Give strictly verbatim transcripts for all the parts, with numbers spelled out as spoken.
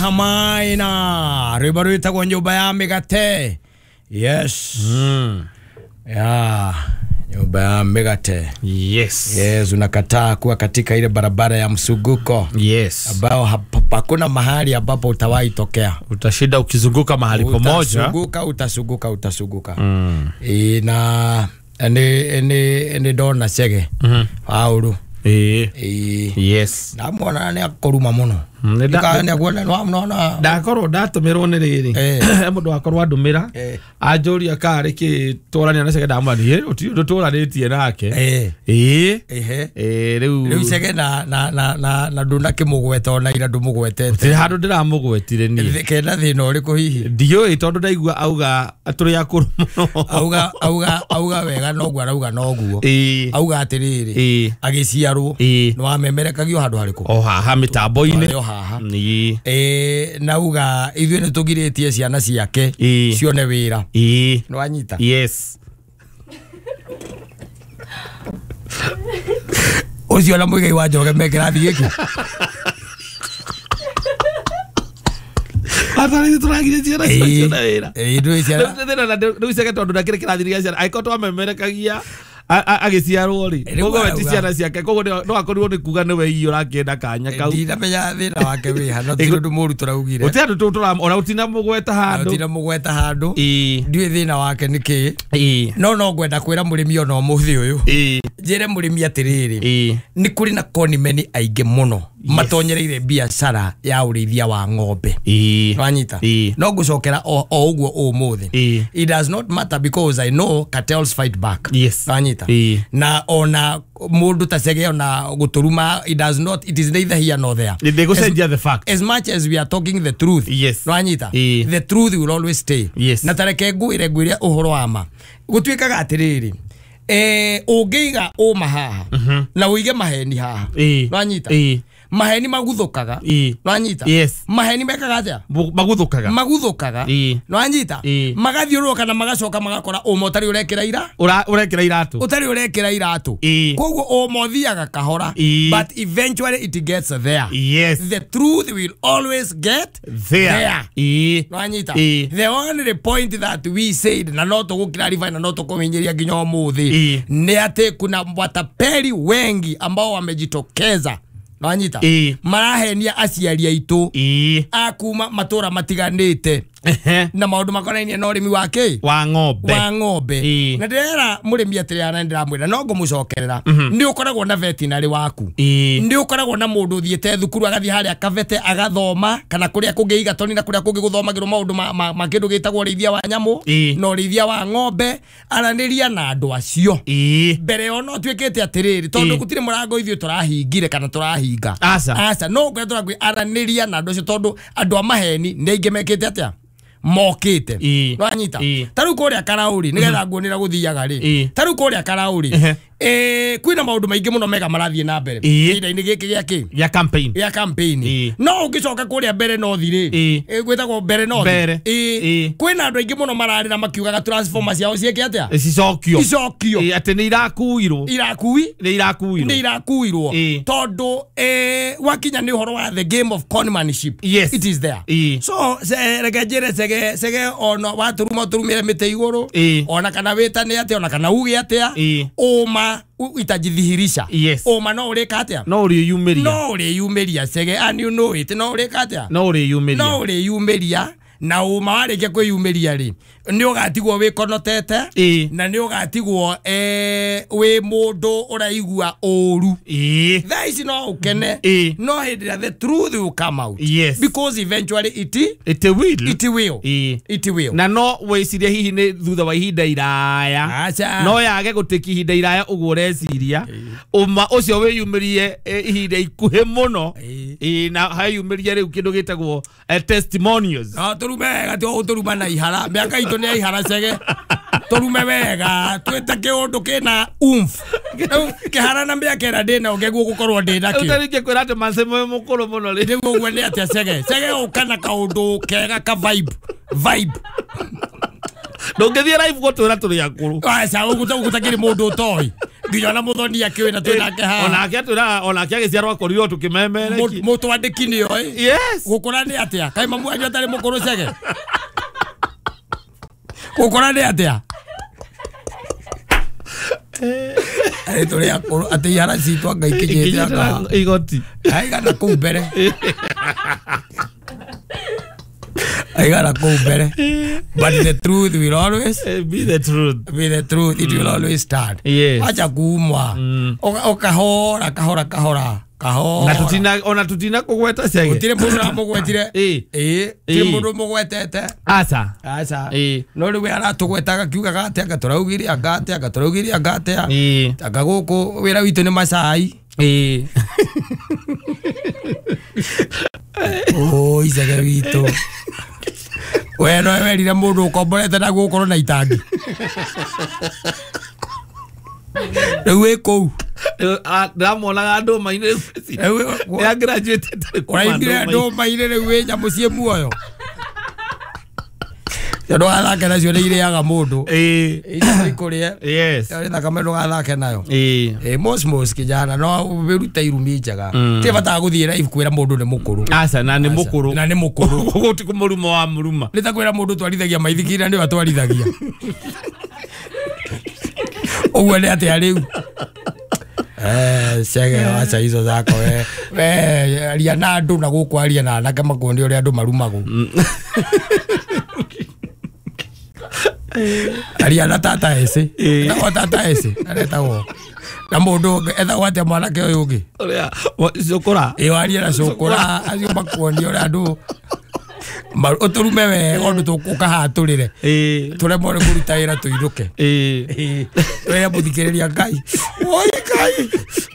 Hamaina rwimbo rwitagwo nyumba ya migate. Yes. Mm. Ya, nyumba ya migate. Yes. Yes, unakataa kuwa katika ile barabara ya msuguko. Yes. Ambao hakuna mahali ambapo utawahi tokea. Utashinda ukizunguka mahali pamoja. Utasuguka, utasuguka, utasuguka. Mm. E, na ene ene ene dona Chege. Mhm. Paulu. Eh. Eh. Yes. Ndamwona nĩ akũruma mũno. Ndakorwo ndatumirwo nĩ rĩrĩ mũndũ akorwo andũmĩra anjũria karĩ kĩ tũrania na Chege ndamwĩra gũtirĩ ũndũ tũranĩtie nake. Ĩĩ ĩĩ rĩu rĩu Chege na na na na na ndũnakĩmũgweta ona ira ndũmũgwetete. Gũtirĩ handũ ndĩramũgwetire niĩ. Kena thĩna ũrĩkũ hihi? Ndiũĩ tondũ ndaigua auga tũrĩ akũrũ mũno. Auga auga auga wega noguo arauga noguo. Auga atĩrĩrĩ agĩciarwo nĩ wamemerekagio handũ harĩkũ? O haha mĩtambo-inĩ. Haha eh nauga ithuĩ nĩ tũgirĩtie ciana ciake cione wĩra. Ĩĩ nĩ wanyita. Yes. Ũcio na Muigai wa Njoroge me kĩrathi gĩkĩ. Atarĩ tũragirie ciana cione wĩra. Ĩĩ ndũĩ ciana rĩu Chege tondũ ndakĩrĩ kĩrathi gĩa ciana angĩkorwo twamemerekagia agĩciarwo rĩ koguo we ti ciana ciake koguo no akorirwo nĩ kuga nĩwe hihi ũrakĩenda kanya kau. Ndinamenya thĩna wake wĩ ha no ti ũndũ mũru tũraugire. Gũtirĩ handũ tũra ona ũtinamũgweta handũ. Ũtinamũgweta handũ. Ĩĩ ndiũĩ thĩna wake nĩ kĩ. Ĩĩ no no ngwenda kwĩra mũrĩmi ona ũmũthĩ ũyũ. Ĩĩ njĩre mũrĩmi atĩrĩrĩ ĩĩ nĩ kũrĩ na konimeni aingĩ mũno matonyereire biacara ya ũrĩithia wa ng'ombe. Ĩĩ wanyita. No ngũcokera o ũguo ũmũthĩ. It does not matter because I know cartels fight back. Yes. Wanyita. Na ona mũndũ ta Chege ona gũtũruma it does not, it is neither here nor there. Ndĩgũcenjia the fact. As much as we are talking the truth. Yes. Wanyita. The truth will always stay. Yes. Na tareke ngwĩre ngwĩre ũhoro wa ma. Gũtuĩkaga atĩrĩrĩ eh ũngĩiga ũma haha na ũige maheni haha. Wanyita. Maheni maguthukaga. Nwanyita. Yes. Maheni mekaga atia? Maguthukaga. Maguthukaga. Nwanyita. Magathiũrũrũka na magacoka magakora ũma ũtarĩ ũrekĩra ira? Ura ũrekĩra iratũ. Ũtarĩ ũrekĩra iratũ. Koguo ũma ũthiaga kahora. But eventually it gets there. Yes. The truth will always get there. There. Nwanyita. The only point that we said na no tũgũclarify na no tũkũmenyeria nginya ũmũthĩ nĩ atĩ kuna watapeli wengi ambao wamejitokeza. Nwanyita. Marahenia aciari aitũ akuma matũra matiganĩte na maũndũ makonainie na ũrĩmi wa kĩ? Wa ng'ombe. Wa ng'ombe. Na ndĩrera mũrĩmi atĩrĩ na ndĩramwĩra no ngũmũcokerera nĩ ũkoragwo na veterinary waku. Nĩ ũkoragwo na mũndũ ũthiĩte thukuru agathiĩ harĩa kabete agathoma kana kũrĩa kũngĩ igatoni na kũrĩa kũngĩ gũthomagĩrwo maũndũ ma, ma kĩndũ gĩtagwo ũrĩithia wa nyamũ na ũrĩithia wa ng'ombe. Aranĩria na andũ acio mbere yo no tuĩkĩte atĩrĩrĩ tondũ gũtirĩ mũrango ithuĩ tũrahingire kana tũrahinga. Aca. Aca no kũrĩa tũrakwĩ aranĩria na andũ acio tondũ andũ a maheni nĩ aingĩ mekĩte atĩa mokite. Nwanyita. Ta rĩu kũrĩa Karaũri nĩgetha nguonera gũthiaga rĩ. Ta rĩu kũrĩa Karaũri eh kwĩna maũndũ maingĩ mũno mega marathiĩ na mbere ihinda-inĩ gĩkĩ gĩa kĩ? Gĩa campaign. Gĩa campaign. No ũngĩcoka kũrĩa Mbere North rĩ gwĩtagwo Mbere North. Kwĩna andũ aingĩ mũno mararĩra makiugaga transformer ciao ciĩke atĩa? Cicokio. Icokio. Atĩ nĩ irakuirwo. Irakui? Nĩ irakuirwo. Nĩ irakuirwo. Tondũ eh wakinya nĩ ũhoro wa the game of conmanship. Yes. It is there. So reke njĩre Chege Chege ona watũruma ũtũrumĩre mĩtĩ igũrũ ona kana wĩtane atĩa ona kana uge atĩa ũma itajidhihirisha. Yes. Ũma no ũrĩka atĩa? No ũrĩyumĩria. No ũrĩyumĩria Chege and you know it. No ũrĩka atĩa? No ũrĩyumĩria. No ũrĩyumĩria na ũma warĩkia kwĩyumĩria rĩ nĩ ũgatigwo wĩkonotete na nĩ ũgatigwo eh wĩ mũndũ ũraigua ũru. Thaa ici no ũkene no hĩndĩ ĩrĩa the truth will come out. Yes. Because eventually it it will. It will. It will. Na no wĩcirie hihi nĩ thutha wa ihinda iraya. No yage gũtĩki ihinda iraya ũguo ũreciria ũma ũcio wĩyumĩrie ihinda ikuhĩ mũno na hayumĩrie rĩu kĩndũ gĩtagwo testimonials. No tũrume wega ti ũtũruma na ihara mĩaka itũ nĩ ihara Chege tũrume wega twĩte kĩũndũ kĩna umf kĩhara na mĩaka ĩrĩa ndĩna ũngĩguo gũkorwo ndĩna kĩo. Ũtarĩ kwĩra atĩ Manse mwĩ mũkũrũ mũno rĩ nĩguo ũguo nĩ atĩa Chege Chege ũka na kaũndũ kega ka vibe vibe ndũngĩthiĩ live gũtwĩra tũrĩ akũrũ. Aca ũguo gũtakĩrĩ mũndũ ũtoĩ Nginya ona muthoni akiwe na twinake haha. Onake atwĩraga onake agĩciarwo akorirwo tũkĩmemereki. Mũtwandĩki nĩoĩ. Yes. Gũkũra nĩ atĩa? Kaĩ mamu wanyu atarĩ mũkũrũ Chege? Gũkũra nĩ atĩa? Arĩ tũrĩ akũrũ atĩ ihara citũ anga ikinyĩte anga igoti. Aigana kũu mbere. Aigana kũu mbere. But the truth will always be the truth. Be the truth. It will always stand. Yes. Acha kuumwa. Ũkahora kahora kahora. Kahora. Na tutina ona tutina kũgweta Chege. Gũtirĩ mũndũ ũramũgwetire. Ĩĩ. Ĩĩ. Gũtirĩ mũndũ ũmũgwetete. Aca. Aca. Ĩĩ. No rĩu we aratũgwetaga akiugaga atĩa anga tũraugire anga atĩa anga tũraugire anga atĩa. Ĩĩ. Anga gũkũ wĩra witũ nĩ macai. Ĩĩ. Oi Chege witũ. We no werire mũndũ ũkomborete naguo ũkorwo na itangi. Rĩu wĩ kũu. Ndĩramuonaga ndũma-inĩ rĩu. Nĩ Ũraimire ndũma-inĩ rĩu wĩ nyamũ ciĩ muoyo. Ndũgathake nacio nĩ irĩaga mũndũ. Ĩĩ. Icio ikũrĩe. Yes. Ĩyo thakame ndũgathake nayo. Ĩĩ. Ĩĩ mosmos kijana no wĩrute irumi njega. Ti bata gũthiĩ live kwĩra mũndũ nĩ mũkũrũ. Aca na nĩ mũkũrũ. Na nĩ mũkũrũ. Koguo ti kũmũruma wa mũruma. Nĩ ta kwĩra mũndũ twarithagia maithikiri na nĩwe atwarithagia. Ũguo nĩ atĩa rĩu? Eh, Chege acha hizo zako we. We aria na andũ na gũkũ aria na anake makuonie ũrĩa andũ marumagwo. Aria na tata ece. Etagwo tata ece. Aretagwo. Na mũndũ ũngĩ etagwo atĩa mwanake ũyũ ũngĩ? Ũrĩa Cũkũra. Ĩĩ warie na Cũkũra acio makuonie ũrĩa andũ ũtũrume wega ũndũ ũkahatũrĩre. Ĩĩ. Tũremwo nĩ kũruta wĩra tũinũke. Ĩĩ. Twĩre mũthikĩrĩria Ngai. Oi Ngai.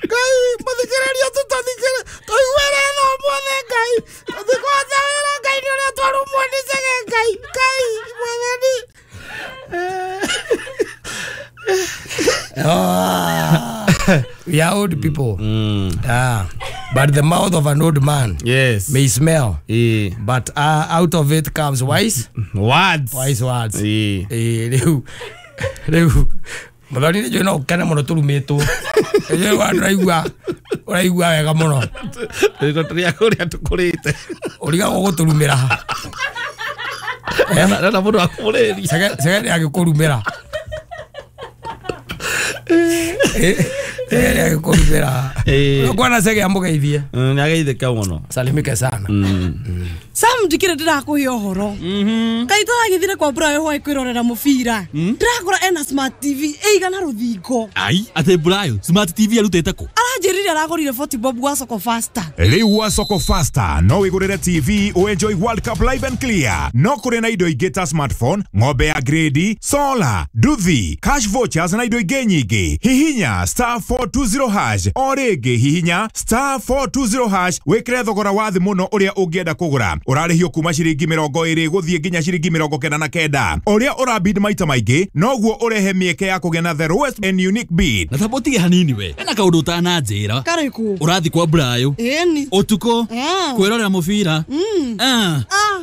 Ngai mũthikĩrĩria tũtathikĩrĩria. Tũiguĩre tha ũmũthĩ Ngai. Tũtikũhota wĩra Ngai nĩ ũrĩa twarumwo nĩ Chege Ngai. Ngai mwathani. Ah, we are old people. Mm. Ah, but the mouth of an old man, yes, may smell. Eh. But uh, out of it comes wise words. Wise words. Eh. Eh, riu riu muthoni nĩ no ũkene mũno tũrumĩtwo. Rĩu ũraigua ũraigua wega mũno. Rĩu tũrĩa kũrĩa tũkũrĩte. Ũrigagwo gũtũrumĩra. Eh, na mũndũ akũrĩria. Chege Chege nĩ agĩkũrumĩra. Eh, nĩ agĩkũrumĩra. Ũkwana Chege amũgeithie. Nĩ ageithĩka mũno. Salimike sana. Sam ndikire ndĩrakũhe ũhoro. Kaĩ tũragĩthire kwa Brayo hwaĩ kwĩrorera mũbira. Ndĩrakora ena smart T V ĩigana rũthingo. Ai, atĩ Brayo smart T V arutĩte kũ? Aranjĩrire aragũrire forty bob gwa Soko Faster. Rĩu gwa Soko Faster no wĩgũrĩre T V ũenjoy World Cup live and clear. No kũrĩ na indo ingĩ ta smartphone, ng'ombe ya grade, solar, nduthi, cash vouchers na indo ingĩ nyingĩ. Hihinya star four two zero hash o rĩngĩ hihinya star four two zero hash wĩkĩre thogora wa thĩ mũno ũrĩa ũngĩenda kũgũra. Ũrarĩhio kuma ciringi mĩrongo ĩrĩ gũthiĩ nginya ciringi mĩrongo kenda na kenda. Ũrĩa ũrabid maita maingĩ noguo ũrehe mĩeke ya kũgĩa na the lowest and unique bid. Na tamba ũtige hanini we. Hena kaũndũ ũtananjĩra. Karĩkũ? Ũrathiĩ kwa Brayo. Ĩni. Ũtukũ. Ah. Kwĩrorera mũbira. Mm. Ah. Ah,